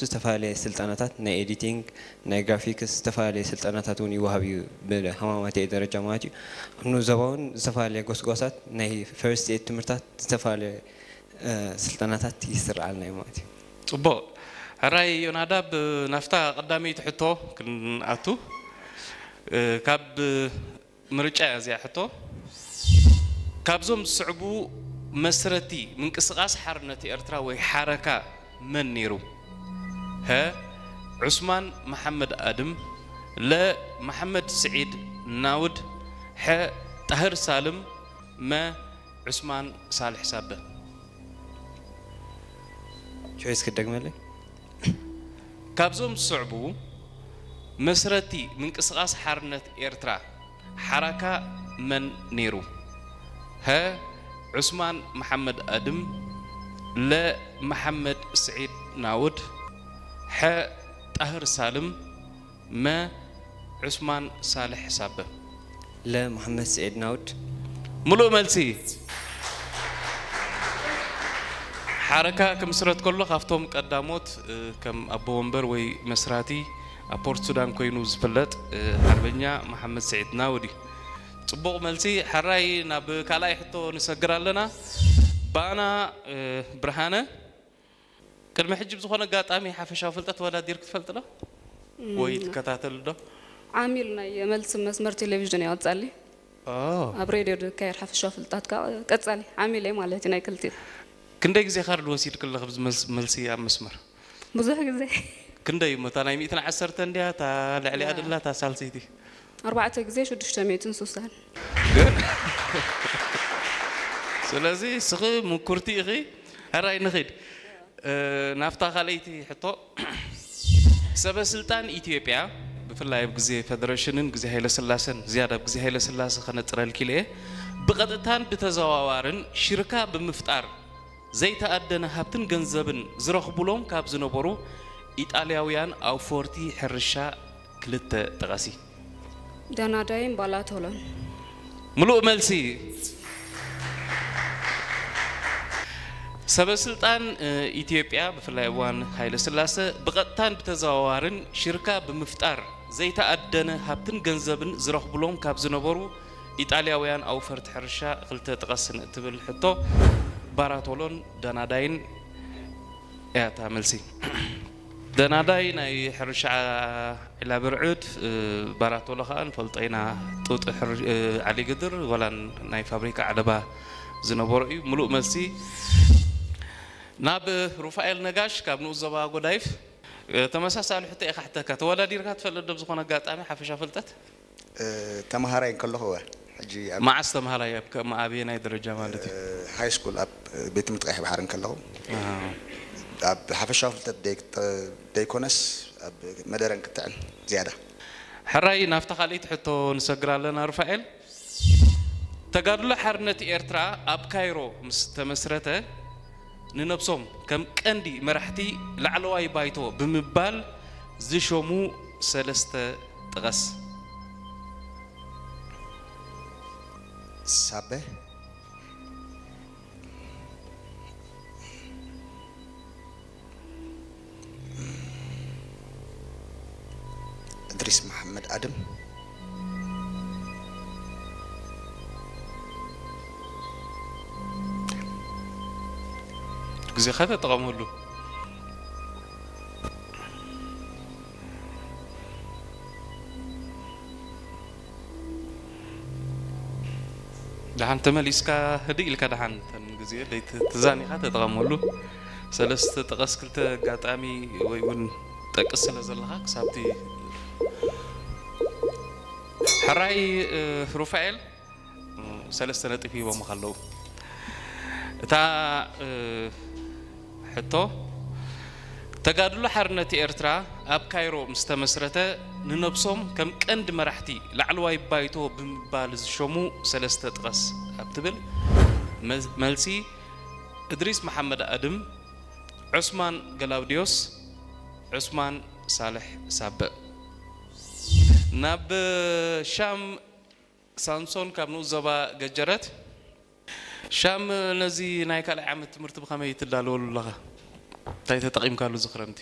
ዝተፈላለየ ስልጠናታት ናይ ኤዲቲንግ፣ ናይ ግራፊክስ፣ ዝተፈላለየ ስልጠናታት እውን ይወሃብ እዩ፣ ብሃማማተኤ ደረጃ ማለት እዩ። ኣብ ኑዞባ እውን ዝተፈላለየ ጎስጓሳት ናይ ፈርስት ኤድ ትምህርታት፣ ዝተፈላለየ ስልጠናታት ይስርዓልና እዩ ማለት እዩ። ፅቡቕ። ሕራይ ዮናዳብ፣ ናፍታ ቀዳመይቲ ሕቶ ክንኣቱ። ካብ ምርጫ እያ እዚኣ ሕቶ። ካብዞም ዝስዕቡ መስረቲ ምንቅስቃስ ሓርነት ኤርትራ ወይ ሓረካ መን ነይሩ? ሀ፣ ዑስማን መሓመድ ኣድም፣ ለ፣ መሓመድ ስዒድ ናውድ፣ ሐ፣ ጣህር ሳልም፣ መ፣ ዑስማን ሳልሕ ሳበ። ቾይስ ክደግመለይ? ካብዞም ዝስዕቡ መስረቲ ምንቅስቃስ ሓርነት ኤርትራ ሓራካ መን ነይሩ? ሀ፣ ዑስማን መሓመድ ኣድም፣ ለ፣ መሓመድ ስዒድ ናውድ፣ ሐ፣ ጣህር ሳልም፣ መ፣ ዑስማን ሳልሕ ሳበ። ለ፣ መሓመድ ስዒድ ናውድ። ምሉእ መልሲ። ሓረካ ክምስረት ከሎ ካብቶም ቀዳሞት ከም ኣቦ ወንበር ወይ መስራቲ ኣብ ፖርት ሱዳን ኮይኑ ዝፍለጥ ሓርበኛ መሓመድ ስዒድ ናውድ እዩ። ፅቡቕ መልሲ። ሕራይ ናብ ካልኣይ ሕቶ ንሰግር ኣለና። ባና ብርሃነ፣ ቅድሚ ሕጂ ብዝኾነ ኣጋጣሚ ሓፈሻዊ ፍልጠት ተወዳዲርኪ ትፈልጢ ዶ? ወይ ትከታተሊ ዶ? ዓሚል ናይ መልሲ መስመር ቴሌቪዥን እየ ቀጻሊ። ኣብ ሬድዮ ዝካየድ ሓፈሻዊ ፍልጠት ከኣ ቀጻሊ ዓሚል እየ ማለት እዩ ናይ ክልቲኡ። ክንደይ ግዜ ካርድ ወሲድኪ ኣለኺ ኣብዚ መልሲ ኣብ መስመር? ብዙሕ ግዜ። ክንደይ እሞ እታ ናይ ሚእትን ዓሰርተን ድያ እታ ልዕሊኣ ደላ እታ ሳልሰይቲ? ኣርባዕተ ግዜ ሽዱሽተ ሚእትን ስሳን። ግን ስለዚ እስኺ ምኩርቲ ኢኺ። ሕራይ ንኺድ ናብታ ካልኣይቲ ሕቶ። ሰበ ስልጣን ኢትዮጵያ ብፍላይ ኣብ ግዜ ፈደረሽንን ግዜ ሃይለስላሰን ዝያዳ ኣብ ግዜ ሃይለስላሰ ከነጥረልኪ ኢለ እየ ብቐጥታን ብተዘዋዋርን ሽርካ ብምፍጣር ዘይተኣደነ ሃብትን ገንዘብን ዝረኽቡሎም ካብ ዝነበሩ ኢጣልያውያን ኣውፈርቲ ሕርሻ ክልተ ጥቐሲ። ደናዳይን ባላቶሎን። ምሉእ መልሲ። ሰበ ስልጣን ኢትዮጵያ ብፍላይ እዋን ሃይለ ስላሰ ብቐጥታን ብተዘዋዋርን ሽርካ ብምፍጣር ዘይተኣደነ ሃብትን ገንዘብን ዝረኽብሎም ካብ ዝነበሩ ኢጣልያውያን ኣውፈርቲ ሕርሻ ክልተ ጥቐስ ንእትብል ሕቶ ባራቶሎን ደናዳይን እያ እታ መልሲ። ደናዳይ ናይ ሕርሻ ዒላ ብርዕድ፣ ባራቶሎ ከኣ ንፈልጦ ኢና፣ ጡጥ ዓሊ ግድር ዋላ ናይ ፋብሪካ ዓለባ ዝነበሮ እዩ። ምሉእ መልሲ። ናብ ሩፋኤል ነጋሽ ካብ ንኡስ ዞባ ጎዳይፍ ተመሳሳሊ ሕቶ እየ ክሓተካ። ተወዳዲርካ ትፈልጥ ዶ ብዝኾነ ኣጋጣሚ ሓፈሻ ፍልጠት? ተምሃራይ እንከለኹ እወ። ሕጂ ኣብ መዓስ ተምሃራይ ኣብ ከም ኣበየናይ ደረጃ ማለት እዩ? ሃይ ስኩል ኣብ ቤት ትምህርቲ ቀይሕ ባሕሪ እንከለኹ ኣብ ሓፈሻዊ ፍልጠት ደይ- ደይኮነስ ኣብ መደረን ክትዕን ዝያዳ። ሕራይ ናብታ ካልኣይቲ ሕቶ ንሰግር ኣለና ሩፋኤል። ተጋድሎ ሓርነት ኤርትራ ኣብ ካይሮ ምስ ተመስረተ ንነብሶም ከም ቀንዲ መራሕቲ ላዕለዋይ ባይቶ ብምባል ዝሾሙ ሰለስተ ጥቐስ። ሳበ እድሪስ መሓመድ ኣድም። ግዜኻ ተጠቐመሉ። ደሓን ተመሊስካ ህድእ ኢልካ ደሓን ተን ግዜ ደይ ት- ትዛኒኻ ተጠቐመሉ። ሰለስተ ጠቐስ ክልተ ኣጋጣሚ ወይ እውን ጠቅስ ስለ ዘለኻ ክሳብቲ ሕራይ እ፣ ሩፋኤል እ፣ ሰለስተ ነጥቢ ሂቦምኻ ኣለዉ። እታ እ፣ ሕቶ ተጋድሎ ሓርነት ኤርትራ ኣብ ካይሮ ምስ ተመስረተ ንነብሶም ከም ቀንዲ መራሕቲ ላዕለዋይ ባይቶ ብምባል ዝሸሙ ሰለስተ ጥቀስ ኣብ ትብል መ- መልሲ እድሪስ መሓመድ ኣድም፣ ዑስማን ገላውዲዮስ፣ ዑስማን ሳልሕ ሳበእ። ናብ ሻም ሳምሶን ካብ ንኡስ ዞባ ገጀረት። ሻም ነዚ ናይ ካልኣይ ዓመት ትምህርቲ ብኸመይ ትዳለወሉ ኣለኻ? እንታይ ተጠቒምካሉ እዚ ክረምቲ?